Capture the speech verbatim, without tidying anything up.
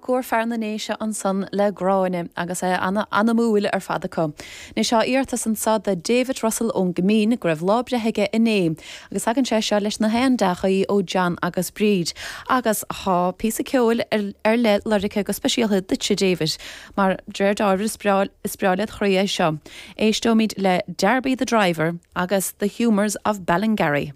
Conchúr fear na nDéise ansan le Gráinne agus é an-anamúil ar fad acu. Anois tá iarratas anseo do David Russell ón gCoimín go raibh lá breithe aige inné, agus tagann sé seo leis na haon dea-ghuí ó John agus Bríd. Agus tá píosa ceoil ar leith lorgtha go speisialta duitse David, mar de réir dealraimh is breá is breá led chroí é seo. Éisteoimid le Darby the Driver agus The Humours of Ballingarry.